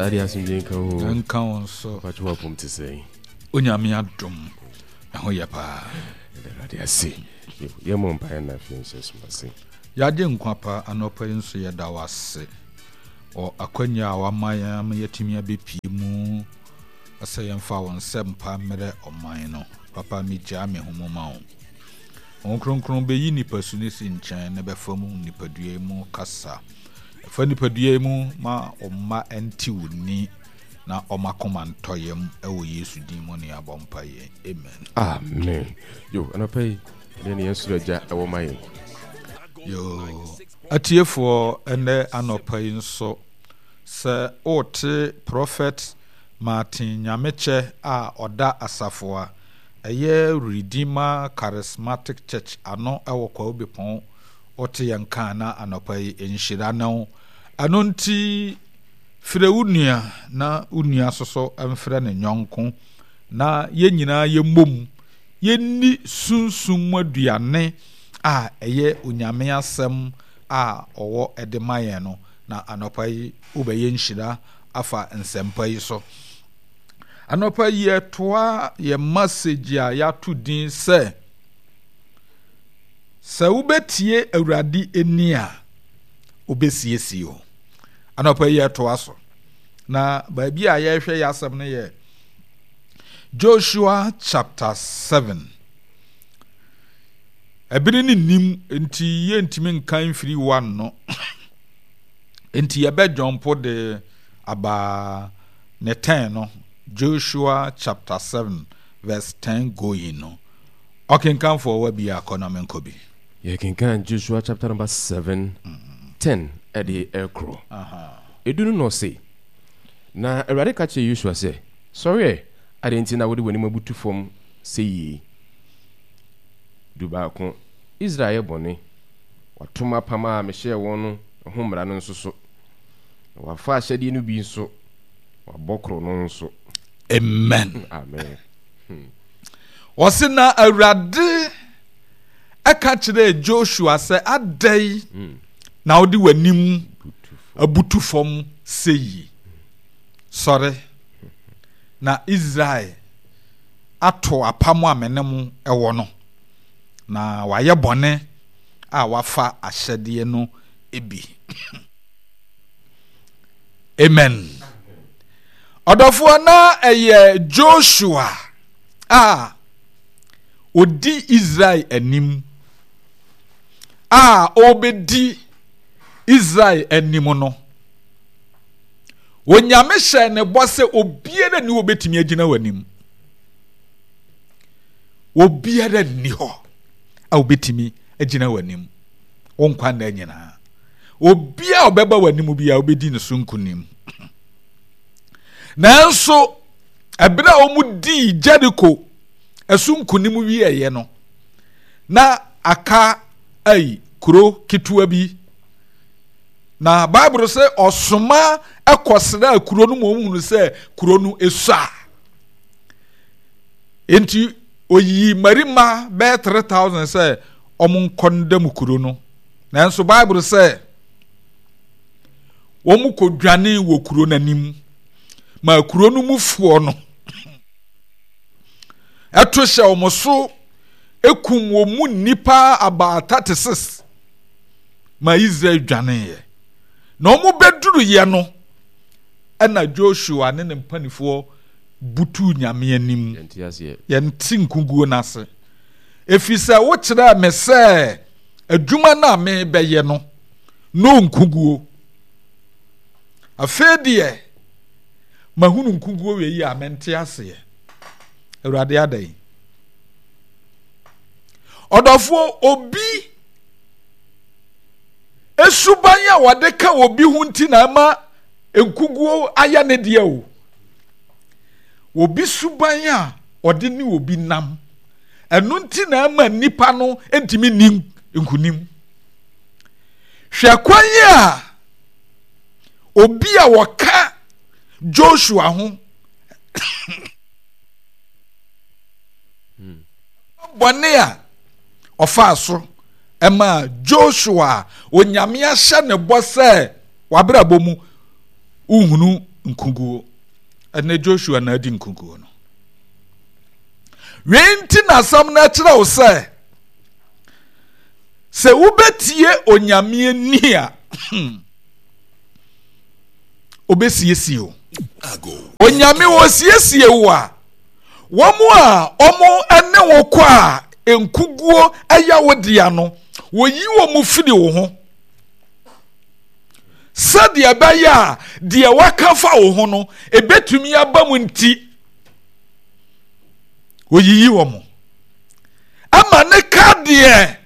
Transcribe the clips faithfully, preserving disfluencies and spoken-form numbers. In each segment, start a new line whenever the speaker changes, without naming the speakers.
Dade, asomdwe nka wo.
Nka wo nso.
Patwo, wapom te sɛn?
Onyame adom, ɛho yɛ paa.
Awurade ase. Yɛmmɔ mpaeɛ na afei nhyɛ som ase.
Yɛagye nkwa pa, anɔpa yi nso yɛda wo ase wɔ akwanya a wama yɛn ama yɛatumi abɛpie mu sɛ yɛmfa wo nsɛmpa mmerɛ ɔman no. Papa, megyaa me ho mu ma wo. Honhom Kronkron bɛyi nipasu no si nkyɛn na bɛfa mu nipadua yi mu kasa. Ɛfa nipadua yi mu ma ɔmma nte wo ni na ɔma koma ntɔ yam, ɛwɔ Yesu din mu ne abɔ mpa yɛn. Amen.
Amen. Yo, anɔpa yi ɛdeɛ ne yɛn soro Agya ɛwɔ ma yɛn?
Yo, atiefoɔ, ɛnɛ anɔpa yi nso sɛ wote Prophet Martin Nyamekyɛ a ɔda asafo a ɛyɛ Redeemer Charismatic Church ano ɛwɔ Kwawu Bepɔn, wote yɛn ka na anɔpa yi nhyira ne wo. Ɛno nti frɛ wo nua na wo nua soso mfrɛ ne nyɔnko na yɛn nyinaa yɛmmom yɛnni sunsum mu aduane a ɛyɛ Onyame asɛm a ɔwɔ ɛde ma yɛn no. Na anɔpa yi wobɛyɛ nhyira afa nsɛmpa yi so. Anɔpa yi yɛtoa yɛ message a yɛato din sɛ sɛ wobɛtie Awurade ani a, wobɛsiesie o. Anɔpa yi yɛtoa so, na baabi a yɛrehwɛ yɛ asɛm no yɛ Joshua chapter seven. Ɛbere ne nim nti yɛntumi nka mfiri one no, nti yɛbɛdwɔmpo de aba ne ten no. Joshua chapter seven verse ten going no, ɔkenkanfoɔ wa bi akɔ na menkɔ bi.
Yɛkenkan Joshua chapter number seven, ten ɛde ɛkorɔ edu no, na ɔse, na Awurade ka kyerɛ Yosua sɛ, "Sɔre ɛ, adɛn nti na wode w'anim abutu fam sɛ yie?" Du baako, Israel yɛ bɔne, watom apam a mehyɛɛ wɔn no ho mmara no nso so, na wafa ahyɛdeɛ no bi nso, wabɔ koro no nso.
Amen.
Amen.
Wɔse na Awurade ɛka kyerɛɛ Joshua sɛ, "Adɛn na wode w'anim abutu fam sɛ yi? Sɔre, na Israel ato apam a me ne mo ɛwɔ no, na wayɛ bɔne a wafa ahyɛdeɛ no bi." Amen. Ɔdɔfoɔ, na ɛyɛ Joshua a ɔdi Israel anim a ɔrebɛdi Israel anim no, Onyame hyɛ ne bɔ sɛ obiara ni wɔbɛtumi agyina w'anim. Obiara nni hɔ a wobɛtumi agyina w'anim wo nkwa nna nyinaa. Obiara a ɔbɛba w'anim biara, wobɛdi ne so nkonim. Nanso ɛberɛ a wɔn dii Jericho ɛso nkonim wieɛ no, na aka ayi kuro ketewa bi, na Bible sɛ ɔsoma ɛkɔsra kuro no ma ɔhunu sɛ kuro no esua, nti oyii mmarima bɛyɛ three thousand sɛ wɔn nkɔ ndam kuro no. Nanso Bible sɛ wɔn kɔ dwane wɔ kuro n'anim ma kuro no mufoɔ no ɛto hyɛ wɔn so, ekum wɔn mu nnipa about thirty six ma Israel dwaneeɛ. Na wɔn bɛduruyɛ no, ɛna Joshua ne ne mpanimfoɔ butuu Nyame anim. "Yɛnte nkuguo no ase, ɛfiri sɛ wokyerɛɛ me sɛ adwuma no a mebɛyɛ no no nkuguo. Afei deɛ mahunu nkuguo wei yi a, mente aseɛ. Awurade, adɛn?" Ɔdɔfoɔ, obi esuban a wɔde ka obi ho nti na ɛma nkuguo ayɛ ne deɛ o. Obi suban a ɔde ne obi nam, ɛno nti na ɛma nipa no ntumi nni nkunim. Hwɛ kwan a obi a wɔka Joshua ho bɔne a ɔfaa so ɛma Joshua a Onyame ahyɛ ne bɔ sɛ wabrabɔ mu wohunu nkuguo. Ɛnɛ Joshua na adi nkuguo no. Wei nti na asɛm no kyerɛ wo sɛ, sɛ wobɛtie Onyame ani a, obɛsiesie wo. Onyame ɔsiesie wo a, wɔn a wɔn ne wo kɔ a nkuguo ɛyɛ wo dea no, wɔyi wɔn firi wo ho. Sɛdeɛ ɛbɛyɛ a deɛ waka fa wo ho no, ɛbɛtumi aba mu nti, wɔyiyi wɔn. Ama ne ka deɛ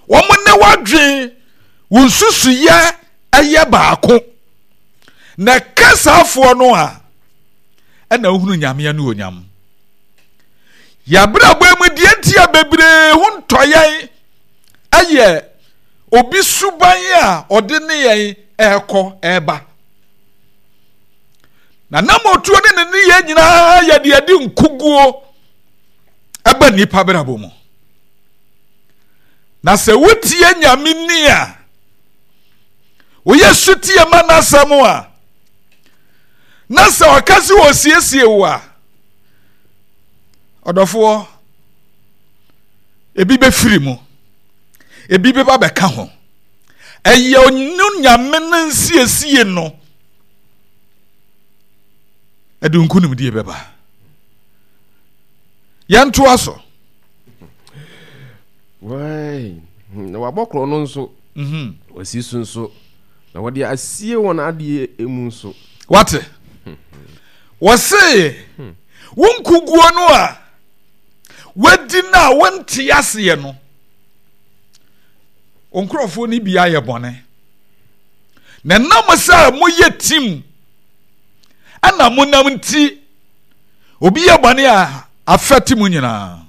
wɔn ne wadwen wo nsusuyɛ ɛyɛ baako. Na ɛka saafoɔ no a, ɛna wohunu Nyame anuonyam. Yɛabrabɔ mu deɛ nti a bebree ho ntɔ yɛn ɛyɛ obi suban a ɔde ne yɛn ɛrekɔ ɛreba. Na nam otuo ne ne nneyɛɛ nyinaa yɛ deɛ ɛde nkuguo ɛba nnipa brabɔ mu. Na sɛ wotie Nyame ni a, woyɛ sutie ma n'asɛm a, na sɛ ɔka sɛ ɔsiesie wo a, ɔdɔfoɔ, ebi bɛfiri mu, ebi bɛba bɛka ho. Ɛyɛ ɔno Nyame no nsiesie no ɛde nkonimdie bɛba. Yɛntoa so.
Na wabɔ korɔ no nso, mhm. wasi so nso, na wɔde asie wɔn adeɛ mu nso.
Wate? Wɔse hmm. wo nkuguo no a wadi no a wonte aseɛ no, wo nkurɔfoɔ no bi ayɛ bɔne. Na nam sɛ moyɛ tim ɛna monam nti, obi yɛ bɔne a afɛte mu nyinaa.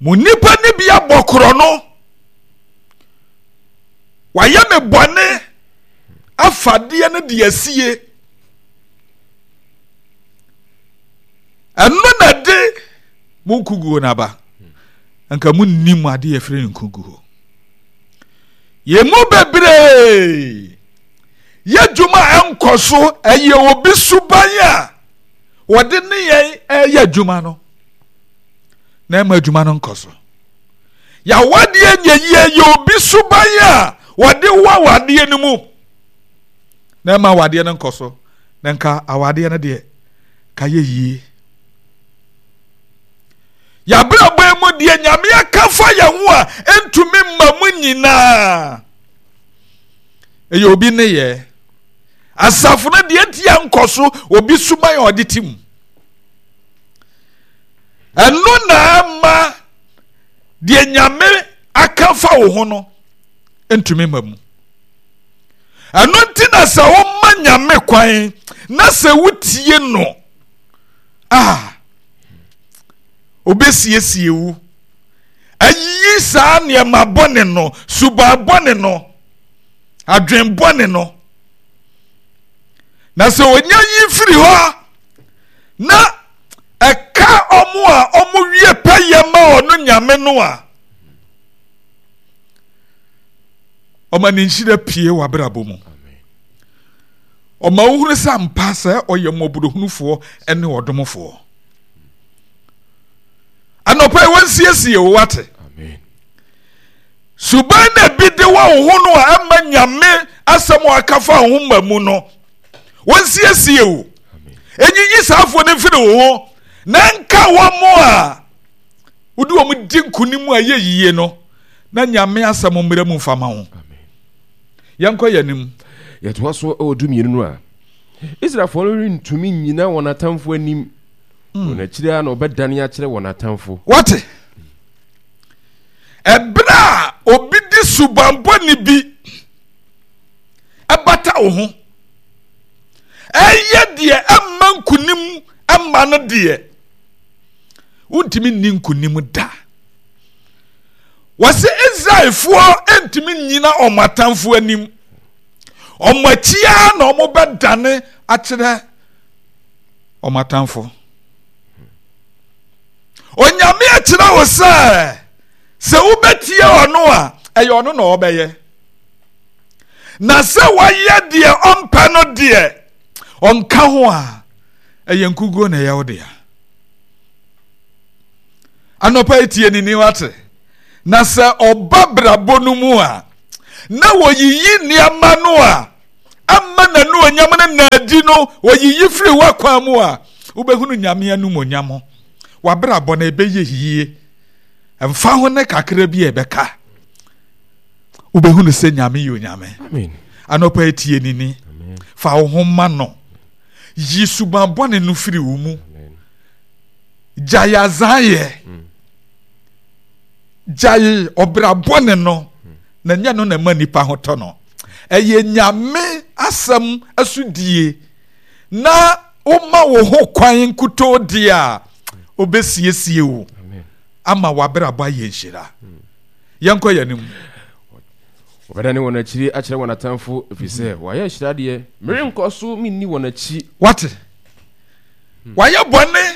Mo nnipa no bi abɔ korɔ no, wayɛ me bɔne afadeɛ no de asie. Ɛno na de mo nkuguo no aba. Nka mo nnim adeɛ yɛfrɛ no nkuguo. Yɛn mu bebree yɛ dwuma a ɛnkɔ so, ɛyɛ obi suban a wɔde ne yɛn ɛyɛ adwuma no na ɛma adwuma no nkɔ so. Yɛawadeɛ nyɛ yie yɛ obi suban a wɔde wɔ awadeɛ no mu na ɛma awadeɛ no nkɔ so, na nka awadeɛ no deɛ ka yɛ yie. Yɛabrabɔ mu deɛ Nyame aka fa yɛn ho a ɛntumi mma mu nyinaa ɛyɛ obi nneyɛɛ. Asafo no deɛ nti a nkɔ so obi suban a ɔde te mu. Ɛno na ama deɛ Nyame aka fa wo ho no ntumi mma mu. Ɛno nti na sɛ woma Nyame kwan na sɛ wotie no a, obesiesie wo ayiyi saa nneɛma bɔne no, suban bɔne no, adwen bɔne no. Na sɛ onya yi firi hɔ na ɛka ɔmo a ɔmo wie pɛyɛ ma ɔno Nyame no a, ɔma ne nhyira pie wɔ abrabɔ mu. Ɔma wohunu sɛ ampa sɛ ɔyɛ mmɔborɔhunufoɔ ne ɔdomfoɔ. Anɔpa yi wɔnsiesie wo wate. Suban na bi de wɔ wo ho no a ɛma Nyame asɛm a aka fa wo ho ma mu no, wɔnsiesie wo. Ɛnyiyi saafoɔ no mfiri wo ho na nka wɔn a wode wɔn di nkonim a ɛyɛ yie no, na Nyame asɛm mmra mu mfa ma wo. Yɛnkɔ yɛn anim.
Yɛtoa so wɔ dumienu no a, Israelfoɔ no rentumi nnyina wɔn atamfo anim. Wɔn akyiri ara na wɔbɛdane akyerɛ wɔn atamfo.
Wate? Ɛberɛ a obi de subanbɔne bi ɛbata wo ho, ɛyɛ deɛ ɛmma nkonim ɛmma no deɛ, wontumi nni nkonim da. Wɔse Israelfoɔ ntumi nnyina wɔn atamfo anim. Wɔn akyi ara na wɔbɛdane akyerɛ wɔn atamfo. Onyame akyerɛ wo sɛ, sɛ wobɛtie ɔno a, ɛyɛ ɔno na ɔbɛyɛ. Na sɛ wɔyɛ deɛ ɔmpɛ no deɛ, ɔnka ho a, ɛyɛ nkuguo na ɛyɛ wo dea. Anɔpa yi tie ne ni wate. Na sɛ ɔba brabɔ no mu a, na wɔyiyi nneɛma no a ama n'anuonyam no na adi no, wɔyiyi firi w'akwan mu a, wobɛhunu Nyame animuonyam. W'abrabɔ no ɛbɛyɛ yie. Ɛmfa ho ne kakra bi a ɛbɛka. Wobɛhunu sɛ Nyame yɛ Onyame. Anɔpa yi tie ne ni. Fa wo ho ma no. Yi suban bɔne no firi wo mu. Gyae azayɛ. Mm. Gyae ɔbra bɔne no. Mm. Na nyɛ no na ɛma nipa ho tɔ no. Ɛyɛ Nyame asɛm asodie na woma wo ho kwan nkutoo deɛ a obɛsiesie wo ama w'abrabɔ ayɛ nhyira. Mm. Yɛnkɔ yɛn anim.
Wɔbɛdane wɔn akyiri akyerɛ wɔn atamfo, ɛfiri sɛ wɔayɛ ahyiradeɛ. Merenkɔ so menni wɔn akyi.
Wate? Wayɛ bɔne,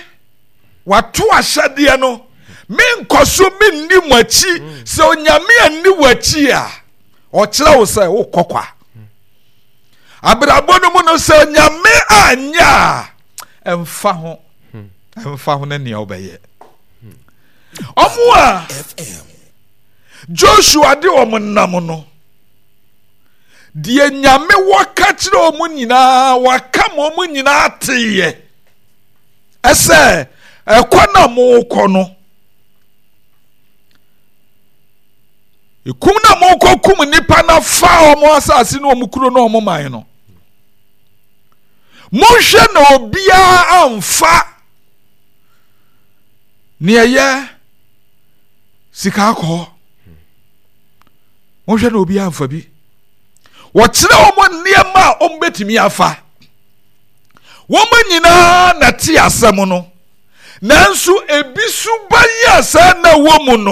wato ahyɛdeɛ no. Menkɔ so menni mo akyi. Sɛ Onyame anni w'akyi a, ɔkyerɛ wo sɛ wokɔ kwa. Abrabɔ no mu no, sɛ Onyame anyɛ a, ɛmfa ho, ɛmfa ho ne nea wobɛyɛ. Ɔmo a Joshua de wɔn nam no, deɛ Nyame wɔka kyerɛ wɔn nyinaa, waka ma wɔn nyinaa teeɛ ɛsɛ ɛkɔ na mokɔ no, ekum na mokɔ kum nipa na fa wɔn asase ne wɔn kuro ne wɔn man no, monhwɛ na obiara amfa nea ɛyɛ sika akɔhɔ. Monhwɛ na obiara amfa bi. Wɔkyerɛ wɔn nneɛma a wɔbɛtumi afa. Wɔn nyinaa na te asɛm no, nanso ebi suban a saa na wɔ mu no.